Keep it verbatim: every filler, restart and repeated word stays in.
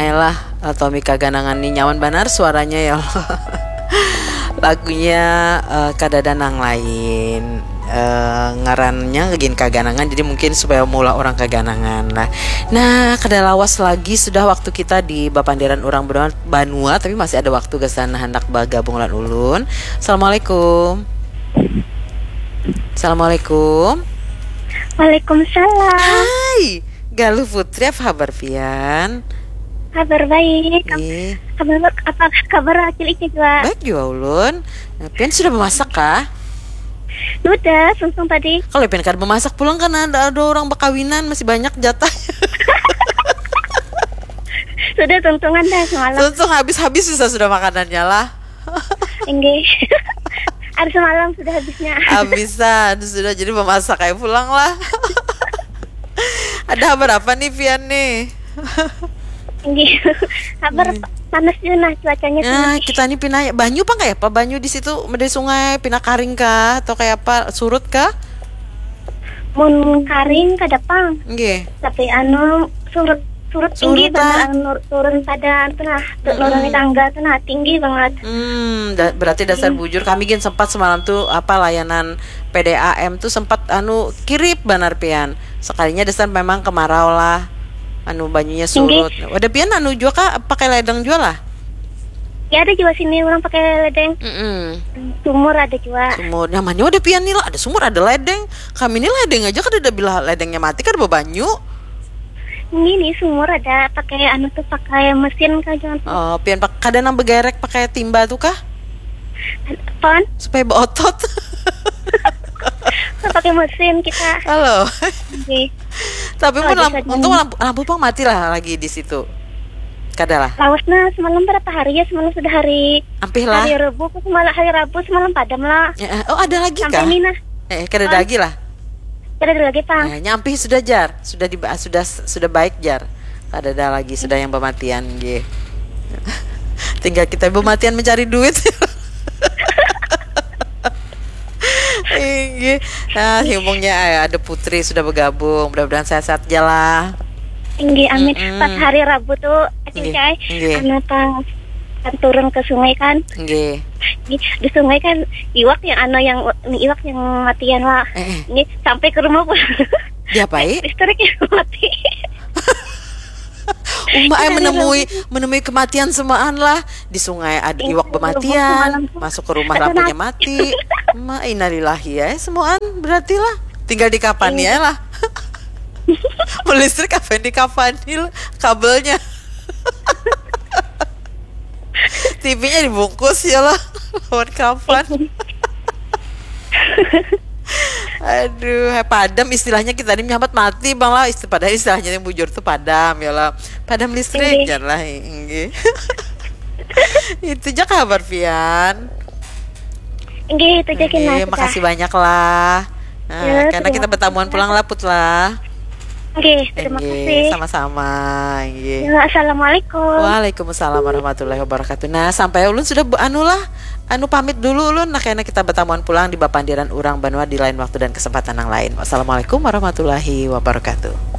Lah, eh, Tommy Kaganangan ni nyaman banar suaranya ya Allah. Lagunya, eh, kadada nang lain. Eh, ngarannya gin Kaganangan, jadi mungkin supaya maulah orang Kaganangan lah. Nah, kada lawas lagi sudah waktu kita di bapandiran urang banua, banua, tapi masih ada waktu gasan handak bagabung lawan ulun. Assalamualaikum. Assalamualaikum. Waalaikumsalam. Hai, Galuh Putri, apa kabar pian? Kabar baik. Am- Ih, Kabar apa kabar Acil Ica juga? Baik juga ulun. Nah, pian sudah memasak kah? Sudah, sungsung tadi. Kalau pian kada memasak pulang, kan ada, ada orang bakawinan, masih banyak jatah. Sudah tuntungan dah semalam. Tuntung habis-habis bisa sudah makanannya lah. Enggak. Hari semalam sudah habisnya. Habisan sudah, jadi memasak aja pulang lah. Ada kabar apa nih pian nih? Enggak. Kabar panas juga nah cuacanya Nah, sini. kita nih pina banyu apa kayak apa? Banyu di situ, di sungai, pina karing kah atau kayak apa? Surut kah? Mun karing kada pang. Nggih. Tapi anu surut surut tinggi Surut, ah. Banget, anu, nur- turun pada itu nah, tu- nuruni tangga tuh nah tinggi banget. Hmm, da- berarti dasar bujur, kami gin sempat semalam tuh apa, layanan P D A M tuh sempat anu kirip banar pian. Sekalinya dasar memang kemarau lah. Anu, banyunya surut. Ada pian anu juga kah, pakai ledeng juga lah? Ya ada juga sini orang pakai ledeng. Mm-mm. Sumur ada juga. Sumur. Nyamannya ada pian nih lah, ada sumur, ada ledeng. Kami ini ledeng aja kada ada, bila ledengnya mati kada babanyu. Ini nih sumur ada pakai anu tuh pakai mesin kah jangan Oh, pian pak, kada nang begerek pakai timba tuh kah? Pon Supaya beotot. pakai mesin kita. Halo. Oke. Tapi Oh, pun ada lampu, saja. Untung lampu, lampu pang mati lah lagi di situ. Kada lah. Lawasnya semalam berapa hari ya? Semalam sudah hari Ampih lah. Hari Rabu, aku semalam hari Rabu semalam padam lah. Ya, eh, oh, ada lagi Sampai kah? ini nah, Eh, kada ada lagi lah. Kada ada lagi pang. Eh, nyampih sudah jar, sudah di sudah sudah baik jar. Kada ada lagi, sudah yang pematian, nggih. Tinggal kita pematian mencari duit. Inggih. Nah, himungnya, eh, ada Putri sudah bergabung. Mudah-mudahan sehat-sehat aja lah. Tinggi amin. Mm-mm. Pas hari Rabu tuh, Nggih, Acil Cai, nggih. Anu pas kan turun ke sungai kan. Nggih. Di, di sungai kan iwak yang anu yang iwak yang matian lah. Eh, eh. Ini sampai ke rumah pulang. Diapai? Listriknya mati. Uma, eh, menemui menemui kematian semaan lah. Di sungai ada iwak Iya, pematian, semalam tuh. Masuk ke rumah Ada lampunya nasi. Mati. Ma, innalillahi ya, semaan berarti lah. Tinggal di kapan Iya. Ya lah. Mau listrik apa yang di kapan kabelnya? T V-nya dibungkus ya lah. Lawan kapan? Aduh, hai, padam istilahnya kita ini menyambat mati bang lah. Isti- padahal istilahnya yang bujur tuh padam ya lah. Padam listrik Inggih. Jar lah, inggih. Itu aja kabar pian. Nggih, itu aja kena Inggih, makasih banyak lah. Nah, Ya, karena kita terima bertamuan pulang lah Put lah. Oke, terima Inggih, kasih. Sama-sama. Inggih. Ya, assalamualaikum. Waalaikumsalam warahmatullahi wabarakatuh. Nah, sampai ulun sudah be- anu lah, anu pamit dulu ulun. Nah, karena kita bertamuan pulang di bapandiran urang banua di lain waktu dan kesempatan yang lain. Wassalamualaikum warahmatullahi wabarakatuh.